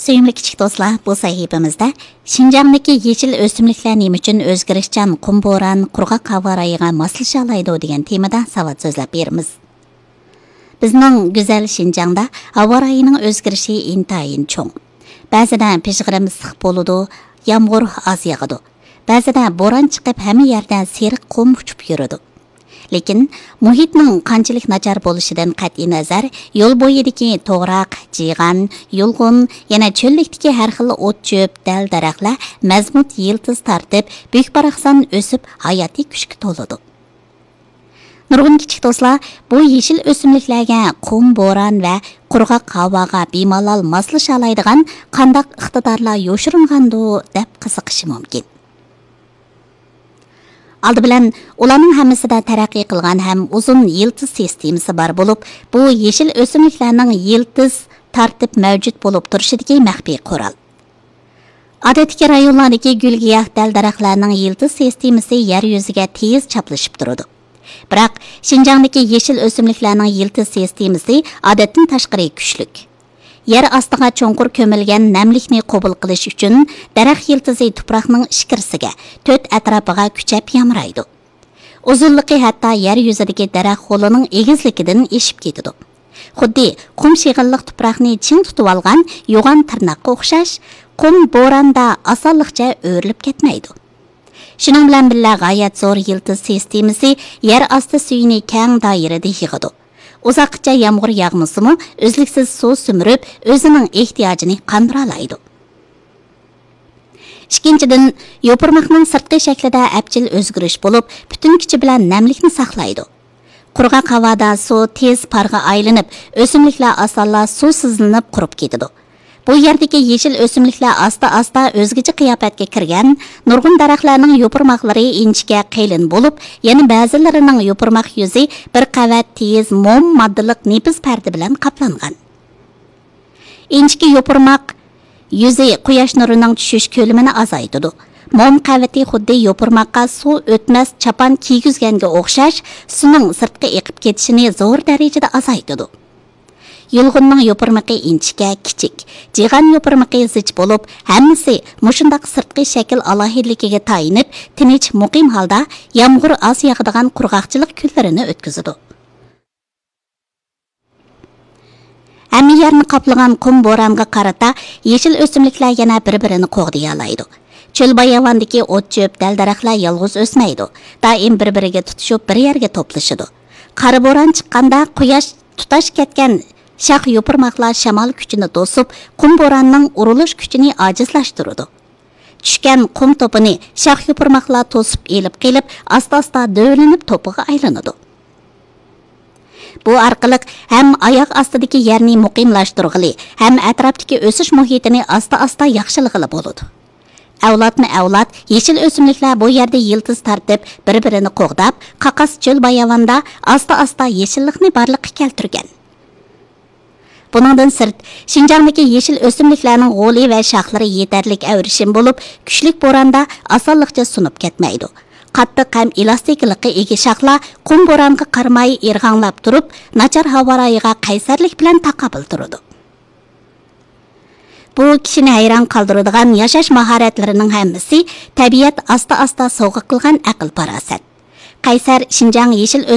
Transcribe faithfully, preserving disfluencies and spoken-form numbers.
سۆيۈملۈك كىچىك دوستلار، بۇ سەھىپىمىزدە شىنجاڭدىكى يېشىل ئۆسۈملۈكلەر نېمە ئۈچۈن ئۆزگىرىشچان، قۇم بوران، قۇرغاق ھاۋا رايىغا ماسلىشالايدۇ دېگەن تېمىدا ساۋات سۆزلەپ بېرىمىز. بىزنىڭ گۈزەل شىنجاڭدا ھاۋا رايىنىڭ ئۆزگىرىشى ئىنتايىن چوڭ. بەزىدە پىژغىرىم ئىسسىق بولىدۇ، يامغۇر ئاز ياغىدۇ. بەزىدە بوران چىقىپ، ھەممە يەردە سېرىق قۇم ئۇچۇپ يۈرىدۇ. لېكىن مۇھىتنىڭ قانچىلىك ناچار بولۇشىدىن قەتئىينەزەر، يول بويىدىكى توغراق، جىغان، يۇلغۇن، يەنە چۆللۈكتىكى ھەر خىل ئوت-چۆپ، دەل-دەرەخلەر مەزمۇت يىلتىز تارتىپ، بۈك-باراقسان ئۆسۈپ، ھاياتىي كۈچكە تولىدۇ. نۇرغۇن كىچىك دوستلار بۇ يېشىل ئۆسۈملۈكلەرگە قۇم بوران ۋە قۇرغاق ھاۋاغا بىمالال ماسلىشالايدىغان قانداق ئىقتىدارلار يوشۇرۇنغاندۇ دەپ قىزىقىشى مۇمكىن. ئالدى بىلەن ئۇلارنىڭ ھەممىسىدە تەرەققىي قىلغان ھەم ئۇزۇن يىلتىز سىستېمىسى بار بولۇپ، بۇ يېشىل ئۆسۈملۈكلەرنىڭ يىلتىز تارتىپ مەۋجۇت بولۇپ تۇرۇشىدىكى مەخپىي قورال. ئادەتتىكى رايونلاردىكى گۈل-گىياھ، دەل-دەرەخلەرنىڭ يىلتىز سىستېمىسى يەر يۈزىگە تېز چاپلىشىپ تۇرىدۇ. بىراق، شىنجاڭدىكى يېشىل ئۆسۈملۈكلەرنىڭ يىلتىز سىستېمىسى ئادەتتىن تاشقىرى كۈچلۈك. يەر ئاستىغا چوڭقۇر كۆمۈلگەن نەملىكنى قوبۇل قىلىش ئۈچۈن، دەرەخ يىلتىزى تۇپراقنىڭ ئىچكىرىسىگە، تۆت ئەتراپىغا كۈچەپ يامرايدۇ. ئۇزۇنلۇقى ھەتتا يەر يۈزىدىكى دەرەخ غولىنىڭ ئېگىزلىكىدىن ئېشىپ كېتىدۇ. خۇددى قۇم شېغىللىق تۇپراقنى چىڭ تۇتۇۋالغان يوغان تىرناققا ئوخشاش، قۇم بوراندا ئاسانلىقچە ئۆرۈلۈپ كەتمەيدۇ. شۇنىڭ بىلەن بىللە، غايەت زور يىلتىز سىستېمىسى يەر ئاستى سۈيىنى كەڭ دائىرىدە يىغىدۇ. ئۇزاققىچە يامغۇر ياغمىسىمۇ، ئۈزلۈكسىز سۇ سۈمۈرۈپ، ئۆزىنىڭ ئېھتىياجىنى قاندۇرالايدۇ. ئىككىنچىدىن، يوپۇرماقنىڭ سىرتقى شەكلىدە ئەپچىل ئۆزگىرىش بولۇپ، پۈتۈن كۈچى بىلەن نەملىكنى ساقلايدۇ. قۇرغاق ھاۋادا سۇ تېز پارغا ئايلىنىپ، ئۆسۈملۈكلەر ئاسانلا سۇسىزلىنىپ قۇرۇپ كېتىدۇ. بۇ يەردىكى يېشىل ئۆسۈملۈكلەر ئاستا-ئاستا ئۆزگىچە قىياپەتكە كىرگەن، نۇرغۇن دەرەخلەرنىڭ يوپۇرماقلىرى ئىنچىكە قېلىن بولۇپ، يەنە بەزىلىرىنىڭ يوپۇرماق يۈزى بىر قەۋەت تېيىز موم ماددىلىق نېپىز پەردە بىلەن قاپلانغان. ئىنچىكە يوپۇرماق يۈزى قۇياش نۇرىنىڭ چۈشۈش كۆلىمىنى ئازايتىدۇ. موم قەۋىتى خۇددى يوپۇرماققا سۇ ئۆتمەس چاپان كىيگۈزگەنگە ئوخشاش، سۇنىڭ سىرتقا ئېقىپ كېتىشىنى زور دەرىجىدە ئازايتىدۇ. يۇلغۇننىڭ يوپۇرمىقى ئىنچىكە، كىچىك. جىغان يوپۇرمىقى زىچ بولۇپ، ھەممىسى مۇشۇنداق سىرتقى شەكىل ئالاھىدىلىكىگە تايىنىپ، تىنچ، مۇقىم ھالدا يامغۇر ئاز ياغىدىغان قۇرغاقچىلىق كۈنلىرىنى ئۆتكۈزىدۇ. ھەممە يەرنى قاپلىغان قۇم بورانغا قارىتا يېشىل ئۆسۈملۈكلەر يەنە بىر-بىرىنى قوغدىيالايدۇ. چۆل-باياۋاندىكى ئوت-چۆپ، دەل-دەرەخلەر يالغۇز ئۆسمەيدۇ. دائىم بىر-بىرىگە تۇتىشىپ، بىر يەرگە توپلىشىدۇ. قارا بوران چىققاندا، قۇياش تۇتاش كەتكەن شاخ-يوپۇرماقلار شامال كۈچىنى توسۇپ، قۇم بوراننىڭ ئۇرۇلۇش كۈچىنى ئاجىزلاشتۇرىدۇ. چۈشكەن قۇم توپىنى شاخ-يوپۇرماقلار توسۇپ ئېلىپ قېلىپ، ئاستا-ئاستا دۆۋىلىنىپ توپىغا ئايلىنىدۇ. بۇ ئارقىلىق ھەم ئاياغ ئاستىدىكى يەرنى مۇقىملاشتۇرغىلى، ھەم ئەتراپتىكى ئۆسۈش مۇھىتىنى ئاستا-ئاستا ياخشىلىغىلى بولىدۇ. ئەۋلادمۇ ئەۋلاد يېشىل ئۆسۈملۈكلەر بۇ يەردە يىلتىز تارتىپ، بىر-بىرىنى قوغداپ، قاقاس چۆل-باياۋاندا ئاستا-ئاستا يېشىللىقنى بارلىققا كەلتۈرگەن. بۇنىڭدىن سىرت، شىنجاڭدىكى يېشىل ئۆسۈملۈكلەرنىڭ غولى ۋە شاخلىرى يېتەرلىك ئەۋرىشىم بولۇپ، كۈچلۈك بوراندا ئاسانلىقچە سۇنۇپ كەتمەيدۇ. قاتتىق ھەم ئېلاستىكىلىققا ئىگە شاخلار قۇم بورانغا قارىماي ئىرغاڭلاپ تۇرۇپ، ناچار ھاۋا رايىغا قەيسەرلىك بىلەن تاقابىل تۇرىدۇ. بۇ كىشىنى ھەيران قالدۇرىدىغان ياشاش ماھارەتلىرىنىڭ ھەممىسى تەبىئەت ئاستا-ئاستا سوۋغا قىلغان ئەقىل-پاراسەت. قەيسەر شىنجاڭ يېشىل ئۆسۈملۈك